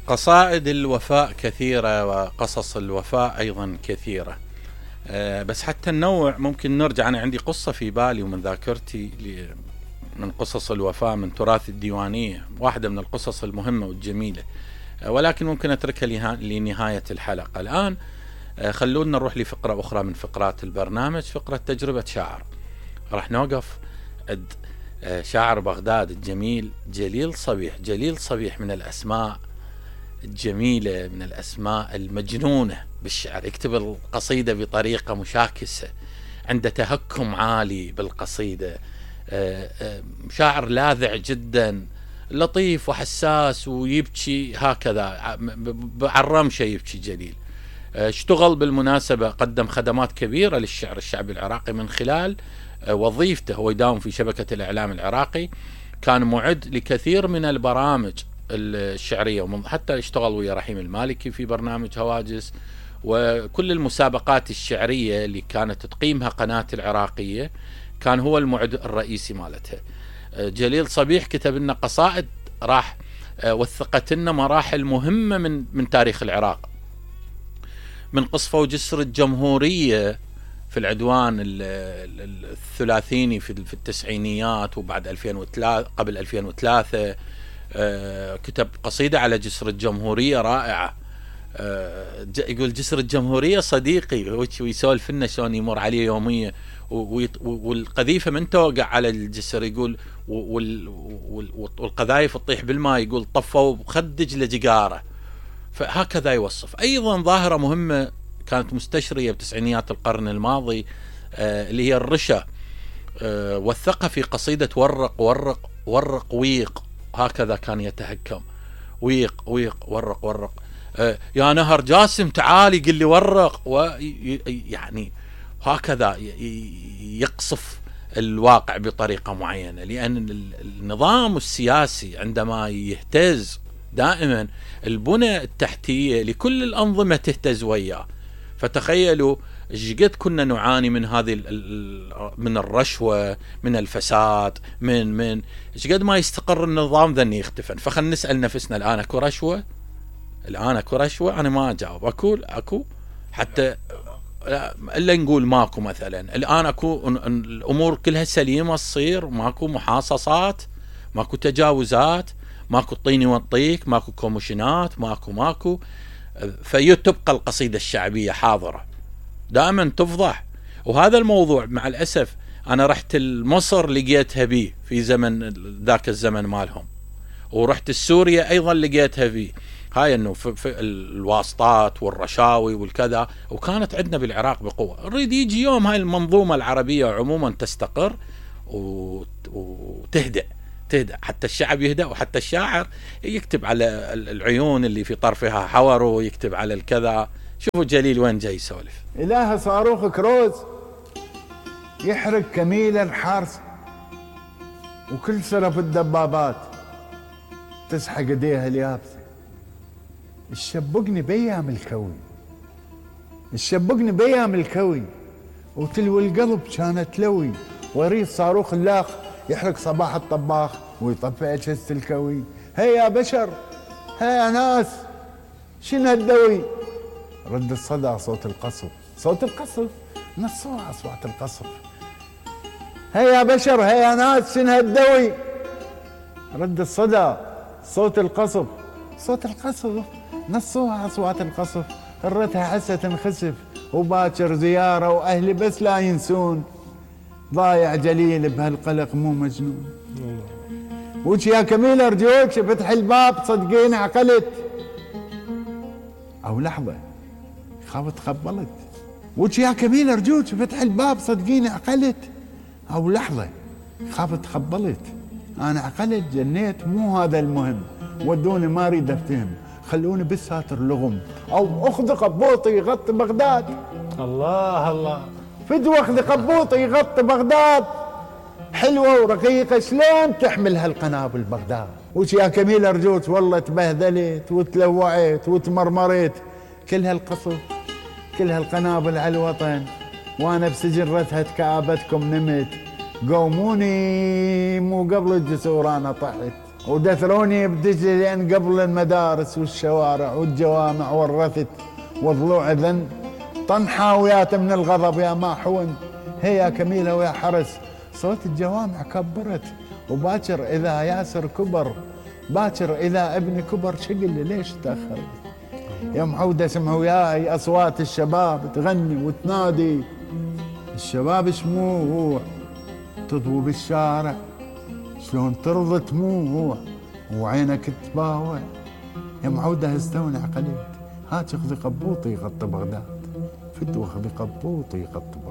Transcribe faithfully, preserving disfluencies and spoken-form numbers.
قصائد الوفاء كثيرة وقصص الوفاء أيضا كثيرة. أه بس حتى النوع ممكن نرجع. أنا عندي قصة في بالي ومن ذاكرتي من قصص الوفاء من تراث الديوانية، واحدة من القصص المهمة والجميلة، أه ولكن ممكن أتركها لنهاية الحلقة. الآن أه خلونا نروح لفقرة أخرى من فقرات البرنامج، فقرة تجربة شاعر. راح نوقف عند شاعر بغداد الجميل جليل صبيح. جليل صبيح من الأسماء الجميلة، من الأسماء المجنونة بالشعر. يكتب القصيدة بطريقة مشاكسة، عنده تهكم عالي بالقصيدة، شاعر لاذع جدا، لطيف وحساس ويبكي هكذا على الرمشة يبكي جليل. اشتغل بالمناسبة، قدم خدمات كبيرة للشعر الشعبي العراقي من خلال وظيفته. هو يداوم في شبكة الإعلام العراقي، كان معد لكثير من البرامج الشعرية، حتى اشتغل ويا رحيم المالكي في برنامج هواجس، وكل المسابقات الشعرية اللي كانت تقيمها قناة العراقية كان هو المعد الرئيسي مالتها. جليل صبيح كتب لنا قصائد راح وثقت لنا مراحل مهمة من من تاريخ العراق، من قصفة وجسر الجمهورية في العدوان الثلاثيني في التسعينيات وبعد ألفين وثلاثة قبل ألفين وثلاثة. كتب قصيدة على جسر الجمهورية رائعة. يقول جسر الجمهورية صديقي، ويسولف لنا شلون يمر عليه يوميا، والقذيفة من توقع على الجسر يقول والقذايف تطيح بالماء، يقول طفوا بخدج لجقاره. فهكذا يوصف. أيضا ظاهرة مهمة كانت مستشرية بتسعينيات القرن الماضي آه اللي هي الرشا. آه وثقها في قصيدة ورق ورق ورق ويق، هكذا كان يتهكم. ويق ويق ورق ورق، آه يا نهر جاسم تعالي قل لي ورق، ويعني هكذا يقصف الواقع بطريقة معينة. لأن النظام السياسي عندما يهتز دائما البنى التحتية لكل الأنظمة تهتز وياه. فتخيلوا ايش كنا نعاني من هذه من الرشوة، من الفساد، من من ايش قد ما يستقر النظام ذني يختفن. فخلنا نسأل نفسنا، الآن اكو رشوة؟ الآن اكو رشوة؟ أنا ما أجاوب. اكو اكو حتى الا نقول ماكو. مثلا الآن اكو الأمور كلها سليمة تصير، ماكو محاصصات، ماكو تجاوزات، ماكو طيني وطيك، ماكو كوميشنات، ماكو ماكو فيتبقى القصيدة الشعبية حاضرة دائما تفضح. وهذا الموضوع مع الأسف أنا رحت مصر لقيتها بيه في زمن ذاك الزمن مالهم، ورحت السوريا أيضا لقيتها فيه. هاي أنه في, في الواسطات والرشاوي والكذا، وكانت عندنا بالعراق بقوة. نريد يجي يوم هاي المنظومة العربية عموما تستقر وتهدأ تهدأ حتى الشعب يهدأ، وحتى الشاعر يكتب على العيون اللي في طرفها حور، ويكتب على الكذا. شوفوا جليل وين جاي يسولف. إله صاروخ كروز يحرق كميل الحارس، وكل سرف الدبابات تسحق ايديها اليابسة. الشبقني بيام الكوي، الشبقني بيام الكوي، وتلوي القلب كانت لوي، وريد صاروخ اللاخ يحرق صباح الطباخ ويطفئ اجهزة الكوي. هيا يا بشر، هيا يا ناس، شنو هالدوي؟ رد الصدى صوت القصف، صوت القصف نصوها اصوات القصف. هيا يا بشر، هيا يا ناس، شنو هالدوي؟ رد الصدى صوت القصف، صوت القصف نصوها اصوات القصف. الرتها حسة تنخسف، وباكر زيارة واهلي بس لا ينسون. ضايع جليل بهالقلق مو مجنون. وش يا كميل ارجوك فتح الباب، صدقيني عقلت. او لحظة خاف تخبلت. وش يا كميل ارجوك فتح الباب، صدقيني عقلت. او لحظة خاف تخبلت. انا عقلت جنيت، مو هذا المهم. ودوني ما اريد افتهم، خلوني بالساتر لغم، او اخذ قبوطي يغطي بغداد. الله الله، فدوى اخذ قبوطي يغطي بغداد. حلوة ورقيقة شلون تحمل هالقنابل بغداد. وش يا كميل ارجوك والله تبهذلت وتلوعت وتمرمرت. كل هالقصف كل هالقنابل على الوطن، وانا بسجن رتهة كآبتكم نمت. قوموني مو قبل الجسور انا طحت. ودثروني بدجلة لأن قبل المدارس والشوارع والجوامع ورثت وضلوع ذن طنحاويات من الغضب يا ما حون هي كميلة ويا حرس. صوت الجوامع كبرت، وباكر إذا ياسر كبر، باكر إذا ابني كبر شقل ليش تأخر. يا معودة اسمعوا وياي أصوات الشباب تغني وتنادي، الشباب شموع تضوي بالشارع شلون ترضى تموع وعينك تباوع. يا معودة استوني عقليت، هاك اخذي قبوطي يغطي بغداد، فتوى اخذي قبوطي يغطي بغداد.